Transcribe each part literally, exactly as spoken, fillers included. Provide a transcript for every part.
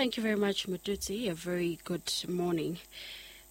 Thank you very much, Mututsi. A very good morning.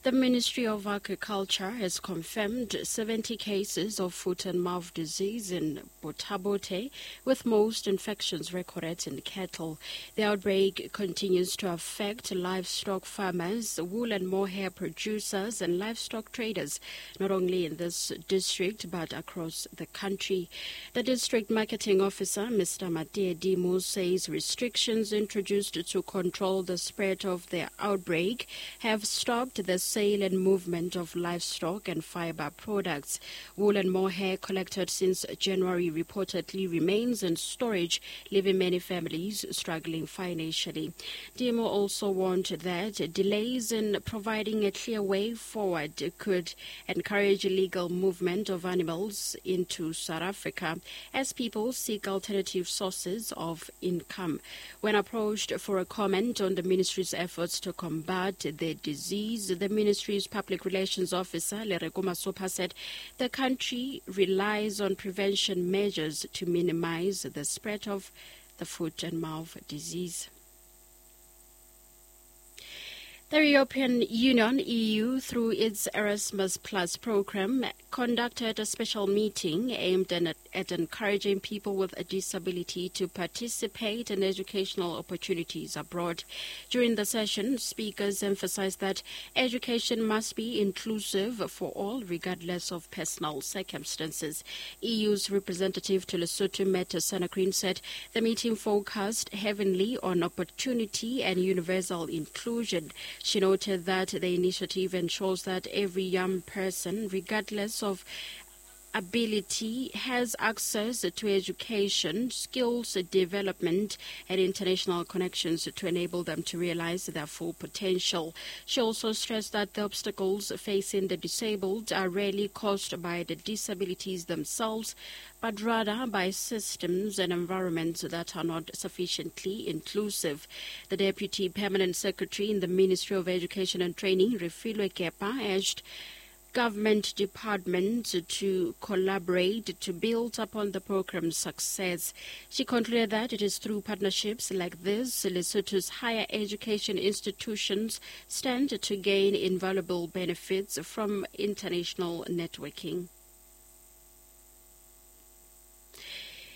The Ministry of Agriculture has confirmed seventy cases of foot and mouth disease in Botha-Bothe, with most infections recorded in cattle. The outbreak continues to affect livestock farmers, wool and mohair producers, and livestock traders, not only in this district but across the country. The district marketing officer, Mister Matie Dimu, says restrictions introduced to control the spread of the outbreak have stopped the sale and movement of livestock and fiber products. Wool and mohair collected since January reportedly remains in storage, leaving many families struggling financially. Dimo also warned that delays in providing a clear way forward could encourage illegal movement of animals into South Africa as people seek alternative sources of income. When approached for a comment on the ministry's efforts to combat the disease, the ministry's public relations officer, Lereko Masopa, said the country relies on prevention measures to minimize the spread of the foot and mouth disease. The European Union, E U, through its Erasmus Plus program, conducted a special meeting aimed at, at encouraging people with a disability to participate in educational opportunities abroad. During the session, speakers emphasized that education must be inclusive for all, regardless of personal circumstances. E U's representative to Lesotho, Mette Sanakrin, said the meeting focused heavily on opportunity and universal inclusion. She noted that the initiative ensures that every young person, regardless of ability, has access to education, skills development, and international connections to enable them to realize their full potential. She also stressed that the obstacles facing the disabled are rarely caused by the disabilities themselves, but rather by systems and environments that are not sufficiently inclusive. The Deputy Permanent Secretary in the Ministry of Education and Training, Refilwe Kepa, urged government departments to collaborate to build upon the program's success. She concluded that it is through partnerships like this, Lesotho's higher education institutions stand to gain invaluable benefits from international networking.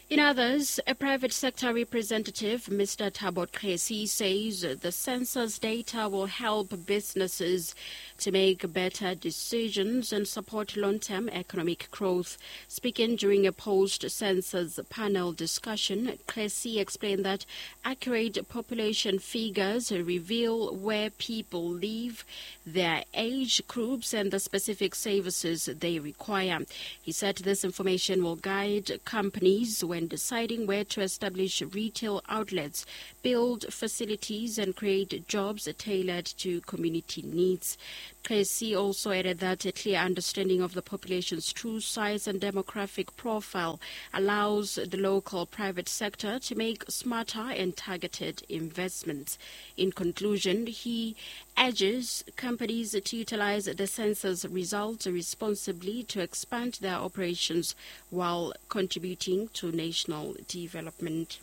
In others, a private sector representative, Mister Thabo Kresi, says the census data will help businesses to make better decisions and support long-term economic growth. Speaking during a post-census panel discussion, Kresi explained that accurate population figures reveal where people live, their age groups, and the specific services they require. He said this information will guide companies when deciding where to establish retail outlets, build facilities, and create jobs tailored to community needs. Kresi also added that a clear understanding of the population's true size and demographic profile allows the local private sector to make smarter and targeted investments. In conclusion, he urges companies to utilize the census results responsibly to expand their operations while contributing to national development.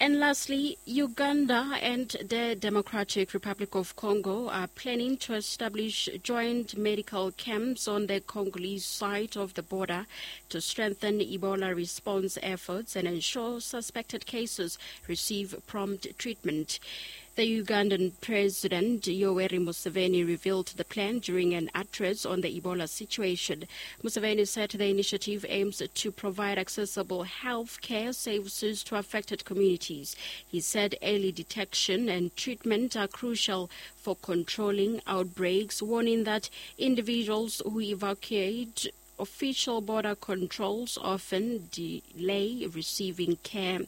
And lastly, Uganda and the Democratic Republic of Congo are planning to establish joint medical camps on the Congolese side of the border to strengthen Ebola response efforts and ensure suspected cases receive prompt treatment. The Ugandan President Yoweri Museveni revealed the plan during an address on the Ebola situation. Museveni said the initiative aims to provide accessible health care services to affected communities. He said early detection and treatment are crucial for controlling outbreaks, warning that individuals who evacuate official border controls often delay receiving care.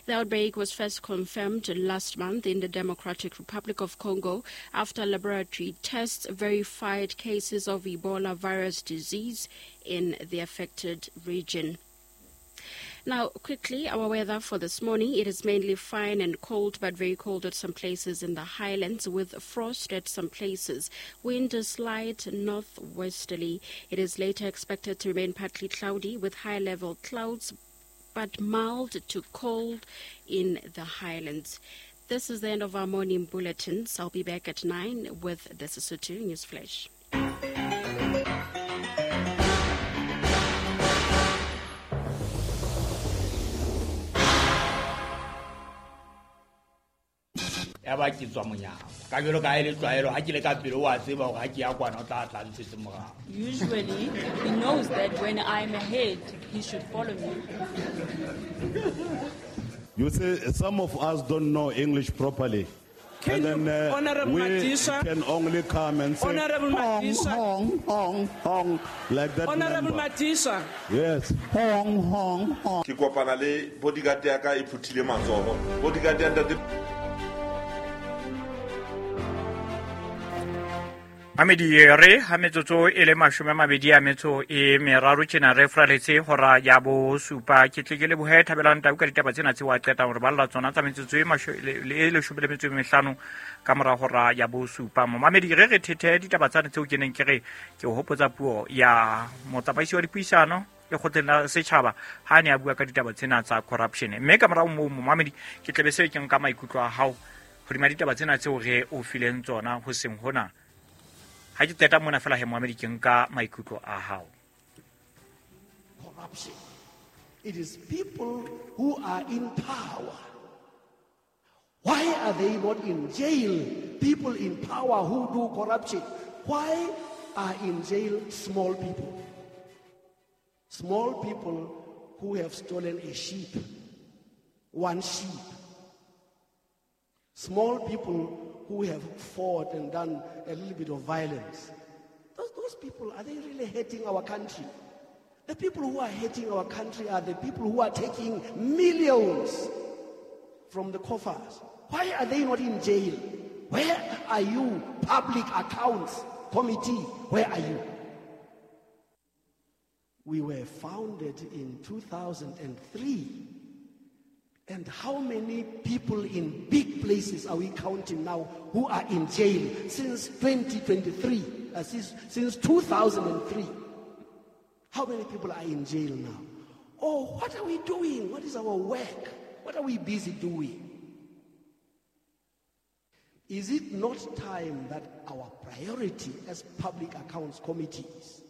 The outbreak was first confirmed last month in the Democratic Republic of Congo after laboratory tests verified cases of Ebola virus disease in the affected region. Now, quickly, our weather for this morning. It is mainly fine and cold, but very cold at some places in the highlands, with frost at some places. Wind is light northwesterly. It is later expected to remain partly cloudy with high-level clouds but mild to cold in the highlands. This is the end of our morning bulletins. I'll be back at nine with the Sesotho News Flash. Ya ba ke tswa monyako ka jalo ka e le tlwaelo ha ke le ka pele wa tseba hore ha ke ya kwana o tla tla ntshetse morao. Usually he knows that when I'm ahead he should follow me. You see, some of us don't know English properly. Can and then uh, Honorable we Madisha, can only come and say Honorable hong, Madisha, hong, hong, hong, like that. Honorable member. Madisha. Yes. Hong, hong, hong. Ke kopana le bodyguard ya ka e phuthile matsoho. Bodyguard ya ntate. Mamedi re ha metsotso e le mashome a mabedi a metso e meraro tjena re fraletse hora ya bo supa. Ke tle ke lebohe Thabelang Tau ka ditaba tsena tse wa qetang hore balla tsona tsa metsotso e masho le leshome le metso e mehlano ka mora hora ya bo supa. Mamedi re re thethe ditaba tsane tseo ke neng ke re ke o hopotsa puo ya motsamaisi wa dipuisano lekgotleng la setjhaba ha ne a bua ka ditaba tsena tsa corruption. Mme ka morao moo momamedi ke tlebe se ke nka maikutlo a hao hodima ditaba tsena tseo re o fileng tsona ho seng hona. Ha ke qeta mona fela he momamedi ke nka maikutlo a hao. Corruption. It is people who are in power. Why are they not in jail? People in power who do corruption. Why are in jail small people? Small people who have stolen a sheep, one sheep. Small people who have fought and done a little bit of violence. Those, those people, are they really hating our country? The people who are hating our country are the people who are taking millions from the coffers. Why are they not in jail? Where are you, Public Accounts Committee? Where are you? We were founded in two thousand three. And how many people in big places are we counting now who are in jail since twenty twenty-three, uh, since, since two thousand three? How many people are in jail now? Oh, what are we doing? What is our work? What are we busy doing? Is it not time that our priority as public accounts committees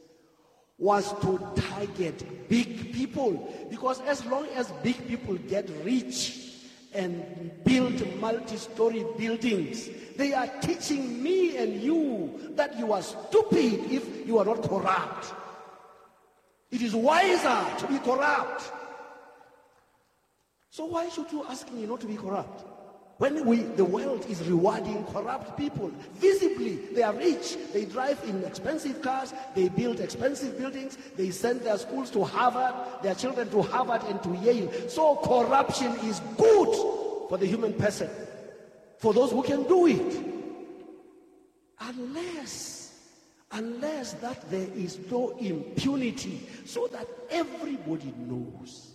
was to target big people? Because as long as big people get rich and build multi-story buildings, they are teaching me and you that you are stupid if you are not corrupt. It is wiser to be corrupt. So why should you ask me not to be corrupt? When we, the world is rewarding corrupt people, visibly, they are rich. They drive in expensive cars. They build expensive buildings. They send their schools to Harvard, their children to Harvard and to Yale. So corruption is good for the human person, for those who can do it. Unless, unless that there is no impunity, so that everybody knows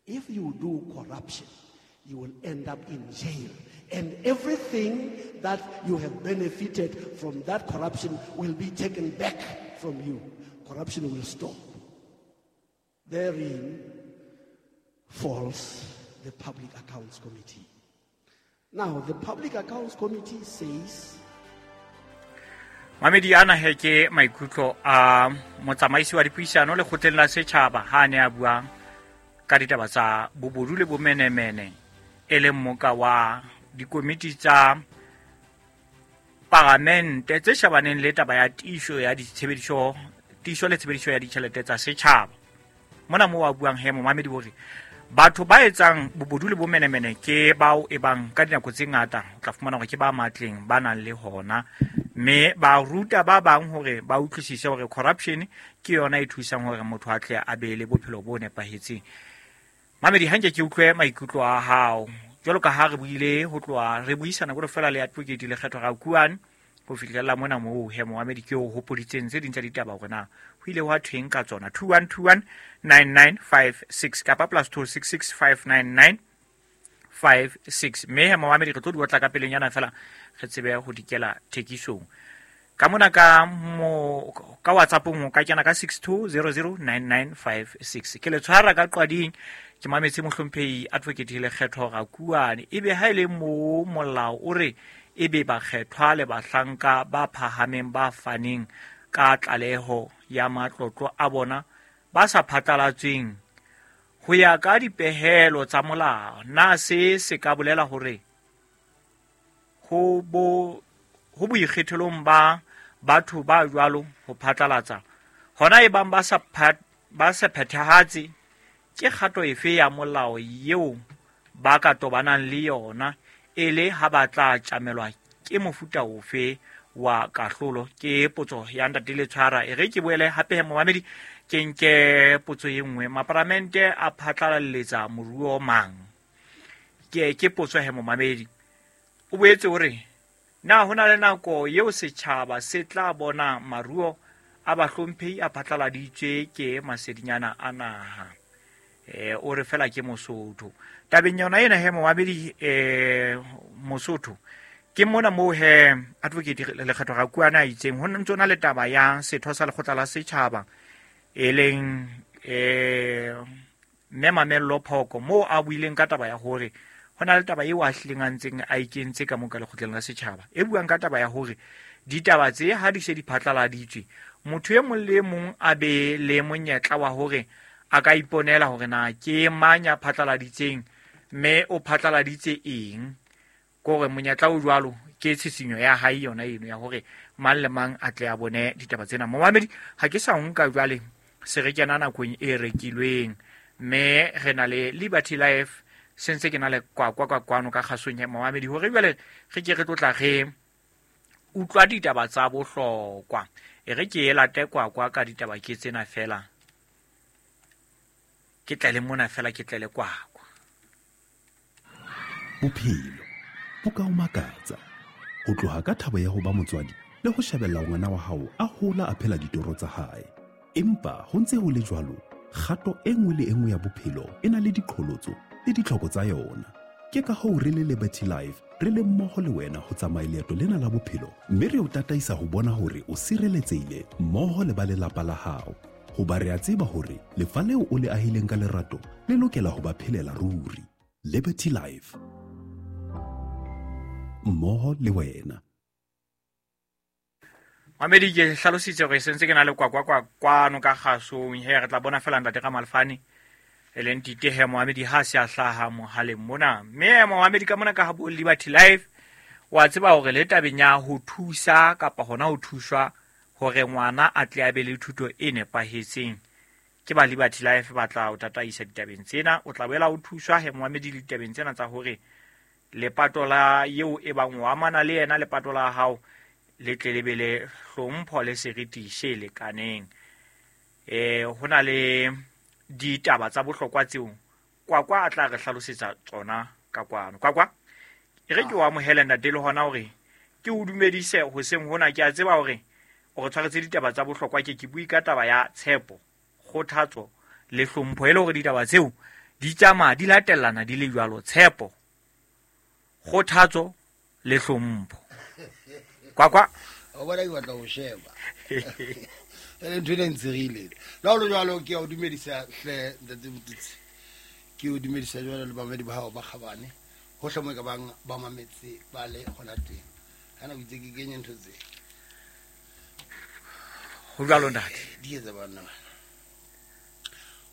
if you do corruption, you will end up in jail. And everything that you have benefited from that corruption will be taken back from you. Corruption will stop. Therein falls the Public Accounts Committee. Now, the Public Accounts Committee says... Mamedi ana he ke maikutlo a motsamaisi wa dipuisano lekgotleng la setjhaba ha ne a bua ka ditaba tsa bobodu le bomenemene e leng moka wa dikomiti tsa paramente tse shabaneng le taba ya tiiso ya ditshebediso tiiso le tshebediso ya ditjhelete tsa setjhaba. Mona mo wa buang he momamedi hore batho ba etsang bobodu le bomenemene ke bao e bang ka dinako tse ngata o tla fumana hore ke ba matleng ba nang le hona, mme ba ruta ba bang hore ba utlwisise hore corruption ke yona e thusang hore motho a tle a be le bophelo bo nepahetseng. Mamedi hanke ke utlwe maikutlo a hao jwalo ka ha re buile ho tloha re buisana go fela le advocate Lekgetho Rakuane ho fihlela mona moo he momamedi ke o hopoditseng tse ding tsa ditaba hore na ho ile hwa thweng ka tsona. Two one two one nine nine five six kapa plus two six six five nine nine five six. Mme he momamedi re tlo di otla ka pelenyana fela re tsebe ho dikela thekisong. Ka mona ka mo ka WhatsApp mo ka kena ka six two zero zero nine nine five six. Ke le tshwara ka qwading ke mametse mohlomphehi Advocate Lekgetho Rakuane ebe ha ile mo molao o re ebe bakgethwa le bahlanka ba phahameng ba faneng ka tlaleho ya matlotlo a bona ba sa phatlalatsweng ho ya ka dipehelo tsa molao. Na se se ka bolela hore ho bo ho boikgethelong ba batho ba jwalo ho phatlalatsa hona e bang ba sa ba sa phethahatse ke kgato efe ya molao eo ba ka tobanang le yona e le ha ba tla tjamelwa ke mofuta ofe wa kahlolo? Ke potso ya ntate Letshwara. E re ke boele hape momamedi ke nke potso e nngwe. Maparamente a phatlalalletsa moruo mang? Ke ke potso he momamedi. O boetse o re na hona le nako eo setjhaba se tla bona maruo a bahlomphehi a phatlaladitswe ke masedinyana a naha? Eh o re fela ke Mosotho. Tabeng yona ena he momamedi eh Mosotho ke mona moo he Advocate Lekgetho Rakuane a itseng ho ntse na le taba ya setho sa lekgotla la setjhaba e leng eh mme Mamello Phoko moo a buileng ka taba ya hore ho na le taba eo a hlileng a ntseng a ikentse ka mo ka lekgotleng la setjhaba e buang ka taba ya hore ditaba tse ha di se di phatlaladitswe motho e mong le mong a be le monyetla wa hore a ka iponela hore na ke mang ya phatlaladitseng mme o phatlaladitse eng. Kore monyetla o jwalo ke tshisinyo ya hae yona eno ya hore mang le mang a tle a bone ditaba tsena. Momamedi ha ke sa nka jwale se re kena nakong e rekilweng mme re na le Liberty Life se ntse ke na le kwa kwa kwa kwano ka kgasong ya momamedi hore jwale re ke re tlotla re utlwa ditaba tsa bohlokwa. E re ke e late kwa kwa ka ditaba ke tsena fela ke tlele mona fela ke tlele kwa kwa. Bophelo bo ka o makatsa ho tloha ka thabo ya ho ba motswadi le ho shebella ngwana wa hao a hola a phela ditoro tsa hae. Empa ho ntse ho le jwalo, kgato e nngwe le e nngwe ya bophelo e na le diqholotso le ditlhoko tsa yona. Ke ka hoo re le Liberty Life re le mmoho le wena ho tsamaya leeto lena la bophelo mme re o tataisa ho bona hore o sireletsehile mmoho le ba lelapa la hao. Hoba re a tseba hore lefa leo o le ahileng ka lerato le lokela ho ba phelela ruri. Liberty Life, mmoho le wena. Mamedi ke hlalositse hore se ntse ke na le kwa kwa kwa kwano ka kgasong he re tla bona fela ntate ka Malfane e leng tite he momamedi ha se a hlaha mohaleng mona. Mme momamedi ka mona ka ha bo Liberty Life wa tseba hore le tabeng ya ho thusa kapa hona ho thuswa hore ngwana a tle a be le thuto e nepahetseng ke ba Liberty Life ba tla o tataisa ditabeng tsena. O tla boela o thuswa he momamedi le ditabeng tsena tsa hore lepato la eo e bang o amana le yena lepato la hao le tle le be le hlompho le seriti se lekaneng. Eh ho na le ditaba tsa bohlokwa tseo kwa kwa a tla re hlalosetsa tsona ka kwano. Kwa kwa e re ke o amohele ntate le hona hore ke o dumedise hoseng hona. Ke a tseba hore o re tshwaretse ditaba tsa bohlokwa. Ke ke bui ka taba ya tshepo, kgothatso le hlompho e le hore ditaba tseo di tsamaya di latellana di le jwalo. Tshepo, kgothatso le hlompho. Kwa kwa o bona ke batla ho sheba e le ntho e ntsirile la ho jwalo. Ke o dumedisa hle ntate Motutsi, ke o dumedisa jwalo le bamedi ba hao ba kgabane hohle mo ka bang ba mametse ba le hona teng. Kana o itse ke kenye ntho tse ho jwalo ntate di etsa bana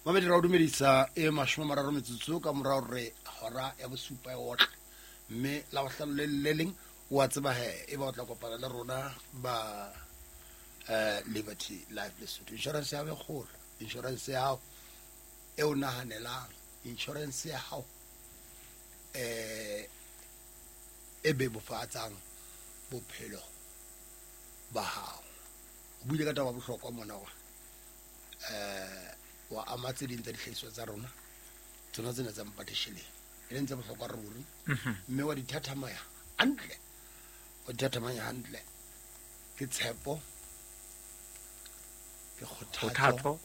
mamedi. Ra o dumedisa e mashome a mararo metsotso ka morao re hora ya bosupa e otle mme la bohlano le le leng wa tseba he e ba o tla kopana le rona ba eh Liberty Life Lesotho. Insurance ya hao e kgolo, insurance ya hao e o nahanelang, insurance ya hao eh e bebofatsang bophelo ba hao. O buile ka taba ya bohlokwa mona wa eh wa ama tse ding tsa dihlahiswa tsa rona tsona tsena tsa mpatesheleng e leng tse bohlokwa ruri, mme wa di thathamaya hantle, wa di thathamaya hantle. Ke tshepo, ke kgothatso,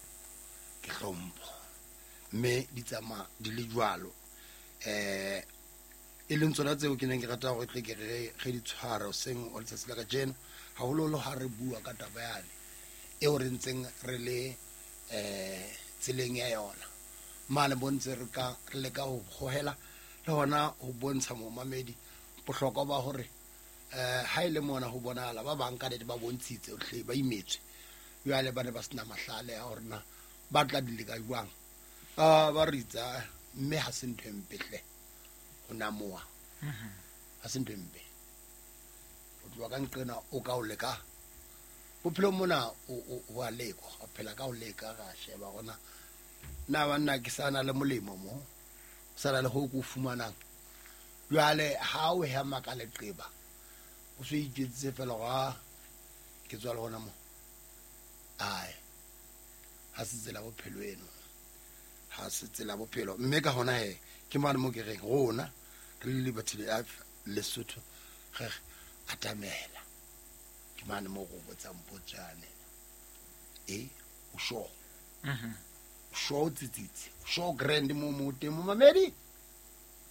ke hlompho, mme di tsamaya di le jwalo. Eh e leng tsona tseo ke neng ke rata hore tle ke re re di tshware hoseng wa letsatsi la kajeno Haholoholo ha re bua ka taba yane eo re ntseng re le eh tseleng ya yona. Mane bontse re ka re leka ho hohela le hona ho bontsha momamedi bohlokwa ba hore eh ha ile mona ho bonahala ba bang ka nete ba bontshitse hle ba imetswe. Jwale ba ne ba sena mahlale a hore na ba tla di leka jwang. Ah ba ritsa mme ha se ntho e mpe hle ho namoha. Ha se ntho e mpe. O tloha ka nqena o ka o leka. Bophelo mona o o a lekwa, o phela ka o leka ra sheba hore na banna ke sana le molemo mo. Sana le ho ko fumanang. Jwale ha o hema ka leqeba o se itjetse fela ga ke tswa le hona mo. Ai ha se tsela bophelo eno. Ha se tsela bophelo mme ka hona he ke mane mo ke reng rona re le Liberty Life Lesotho re atamela. Ke mane mo go botsang potsane e o sho mhm sho tsitsitsi sho grand mo mo teng mo mamedi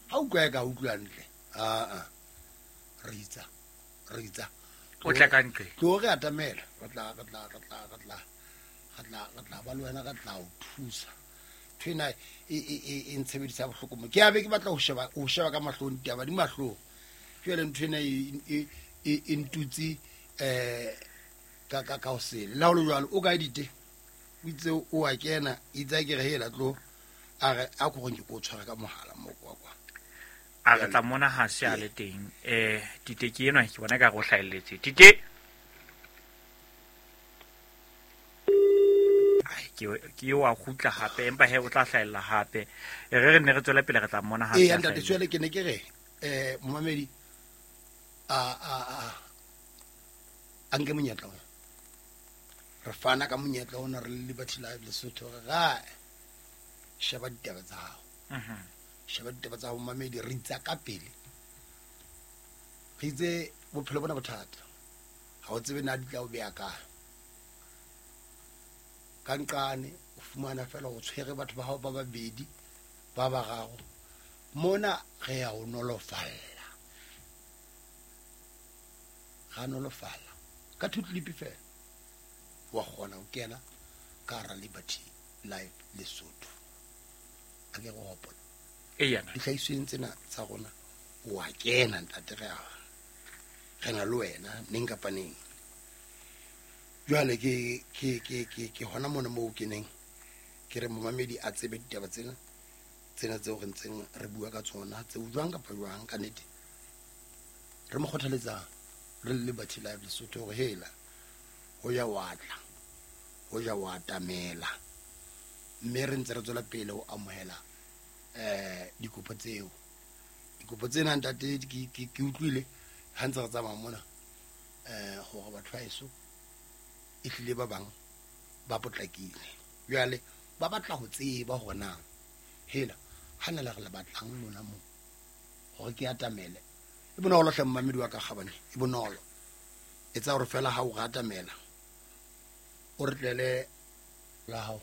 ha utlwa ka utlwa ntle a a ritsa ritsa o tla ka ntle tlo re atamela re tla re tla re tla re tla re tla re tla ba le wena re tla o thusa thwena e e e ntshebedisa bohloko mo ke a be ke batla ho sheba ho sheba ka mahlong ditaba di mahlong jwale nthwena e e e ntutsi eh ka ka ka hosele la ho jwalo o ka edite o itse o a kena itse ke re hela tlo a re a go ke go tshwara ka mohala mo kwa kwa a re tla mona ha se a le teng eh Tite ke enwa ke bona ka go hlaelletse Tite ai ke ke wa khutla hape empa he o tla hlaella hape e re re ne re tswela pele re tla mona ha se a ntate tswele ke ne ke re eh momamedi a a a anke monyetla ona re fana ka monyetla ona re le Liberty Life Lesotho re ga sheba ditaba tsa hao mhm sheba ditaba tsa hao mamedi re itsa ka pele re itse bophelo bona bothata ha o tsebe na di tla o beya kae ka nqane o fumana fela o tshwere batho ba hao ba babedi ba bararo mona re ya o nolofalla ga nolofalla ka two clip fela wa kgona ho kena ka hara Liberty Life Lesotho a ke go hopola e yana dihlahisweng tsena tsa rona o a kena ntate re a re na le wena neng kapa neng jwale ke ke ke ke ke hona mona moo ke neng ke re momamedi a tsebe ditaba tsena tsena tseo re ntseng re bua ka tsona tseo jwang kapa jwang ka nnete re mo kgothaletsa re le Liberty Life Lesotho hore hela ho ya wa tla ho ja wa atamela mme re ntse re tswela pele ho amohela eh dikopo tseo dikopo tsena ntate ke ke utlwile ha ntse re tsamaya mona eh hore batho ba eso e hlile ba bang ba potlakile jwale ba batla ho tseba hore na hela ha na le re le batlang lona mo hore ke atamele e bonolo hle mmamedi wa ka kgabane e bonolo etsa hore fela ha o atamela o re tlele la hao